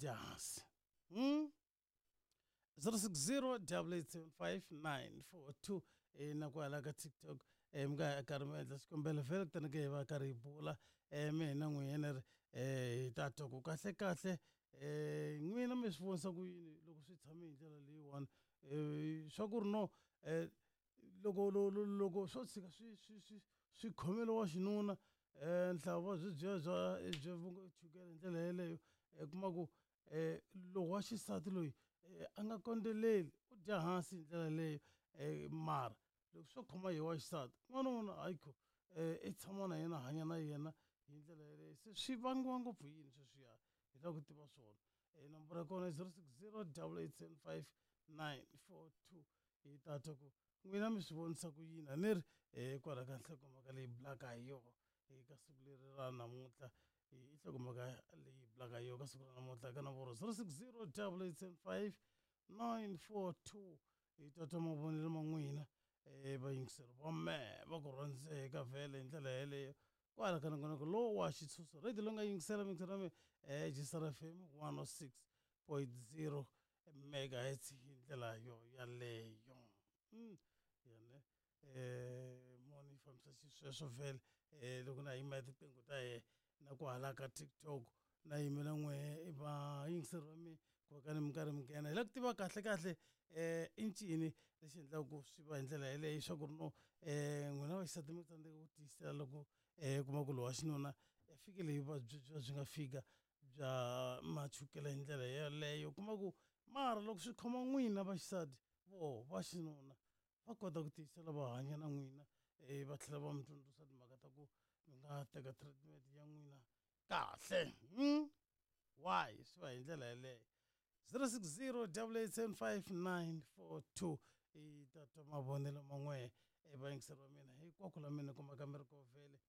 dya hansi. 060 8875942 na kwala ka TikTok mi nga karhi mi endla xikombelo vhele kutani ke hi va karhi hi bula mina n'wina ri hi ta twa ku kahle kahle n'wina mi swi vonisa ku yini loko swi tshame hi ndlela leyiwani swa ku ri no loko loko swo tshika swi swi swi swi khomele wa xinuna nhlava byi byiya bya bya chukele hi ndlela yeleyo u kuma ku loko wa xisati loyi a nga kondzeleli u dya hansi hi ndlela leyo mara loko swo khoma hi wa xisati n'wanuna hayikho i tshama na yena hanya na yena hi ndlela yeleyo. Se swi vangiwa ngopfu yini sweswiya? Hi lava ku tiva swona. Nomboro ya kona i 060 887 5942. Hi ta twa ku n'wina mi swi vonisa ku yini a ni ri kwala ka nhlokomhaka leyi bulaka hi yona eka siku leri ra namuntlha. I nhlokomhaka leyi bulaka hi yona ka siku ra namuntlha ka nomboro 060 887 5942. Hi ta twa mavonelo ma n'wina vayingiseri va mehe va ku rhandzeka vhele hi ndlela yeleyo kwala ka nongonoko lowu wa xitshunxo radio lowu nga yingisela miyingiselo ya mina Jisara FM 106.0 megahertz hi ndlela yo yaleyo. Yane moni yi fambisa xisweswo vhele loko na yima tinqingho ta yena na ku hala ka TikTok na yimela n'we vayingiseri va mina ku va ka ni mi karhi mi nghena. Hi lava ku tiva kahle kahle i ncini lexi endlaka ku swi va hi ndlela yeleyo swa ku ri no n'wina vaxisati mi tsandzeka ku tiyisela loko kuma ku lowa xinuna fikile hi vuvabyi bya byi nga fika bya machukele hi ndlela yeleyo. Kuma ku mara loko swi khoma n'wina vaxisati voho va xinuna va kota ku tiyisela va hanya na n'wina va tlhela va mi tsundzuxa timhaka ta ku mi nga teka treatment ya n'wina kahle. Why swi va hi ndlela yeleyo? 060 8875942. I ta twa mavonelo man'we vayingiseri va mina hinkwako la mina kumaka mi ri ko vhele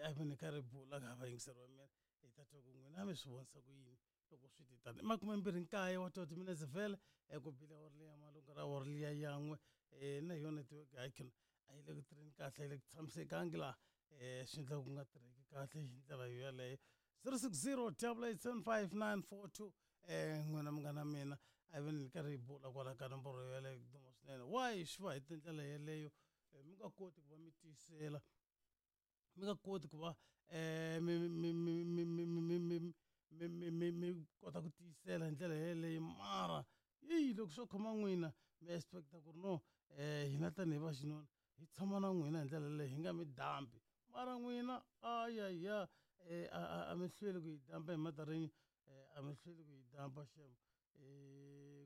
a vi ni karhi bula ka vayingiseri va mina. Hi ta twa ku n'wina mi swi vonisa ku yini loko swi ti tani. I 29 wa 20 minutes vhele ku bile awara liya malungu ra awara liya yan'we na yona netiweke hayikhona a yi le ku tirheni kahle, yi le ku tshamisekangi laha swi endla ku nga tirheki kahle hi ndlela yo yeleyo. 060 8875942. N'wina munghana mina a vi ni karhi hi bula kwala ka nomboro yeleyo duma swinene. Why swi va hi tindlela yeleyo mi nga koti ku va mi tiyisela, mi nga koti ku va mi mi mi mi mi mi mi mi mi mi mi kota ku tiyisela hi ndlela yeleyo, mara yi loko swo khoma n'wina mi expecta ku ri no hina tanihi va xinuna hi tshama na n'wina hi ndlela leyi hi nga mi dambi, mara n'wina ayaya a mi hlweli ku yi dampa hi matarinyi, a mi hlweli ku yi dampa xem.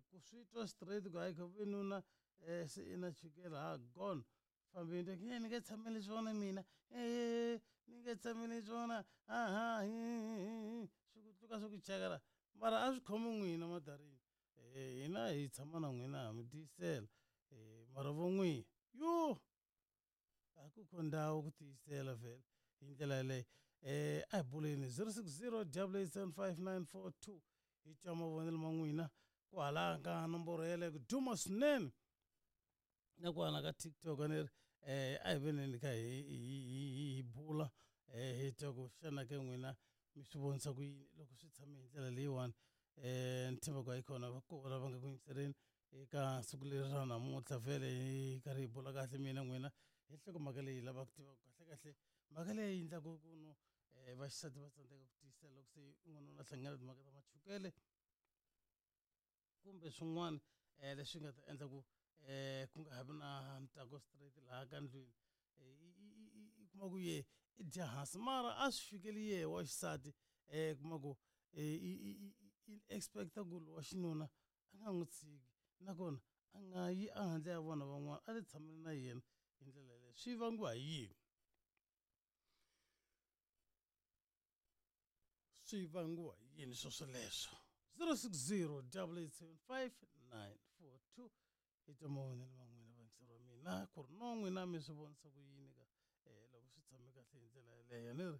Ku swi twa straight ku hayi kha nuna se i na chukele ha gone fambini ni nge tshameli swona mina ni nge tshameli swona aha swi ku tluka swi ku chekela, mara a swi khomi n'wina madarini. Hina hi tshama na n'wina ha mi tiyisela mara vo n'wina yo a ku kho ndhawu ku tiyisela vhele hi ndlela yeleyo. A hi buleni 060 8875942 hi twa mavonelo ma n'wina ku hala ka nomboro yeleyo ku duma swinene na kwala ka TikTok ni ri a hi veneni kha hi bula hi twa ku xana ke n'wina mi swi vonisa ku yini loko swi tshame hi ndlela leyiwani. Ni tshemba ku hayi kona va kona lava nga ku yingiseleni eka siku leri ra namuntlha vhele hi karhi hi bula kahle mina n'wina hi nhlokomhaka leyi lavaka ku tiva kahle kahle mhaka leyi endlaka ku no vaxisati va tsandzeka ku tiyisela loko se n'wanuna a hlangana timhaka ta machukele kumbe swin'wana leswi nga ta endla ku ku nga ha vi na ntsako straight laha ka ndlwini. I kuma ku ye i dya hansi mara a swi fikeli yehe wa xisati kuma ku i expecta ku lowa xinuna a nga n'wi tshiki nakona a nga yi ehandle ya vona van'wana a ti tshamela na yena hi ndlela yeleyo. Swi vangiwa hi yini? Swi vangiwa hi yini swoswoleswo? 060 8875942. Hi twa mavonelo ma n'wina vayingiseri va mina ku ri no n'wina mi swi vonisa ku yini ka loko swi tshame kahle hi ndlela yeleyo ni ri.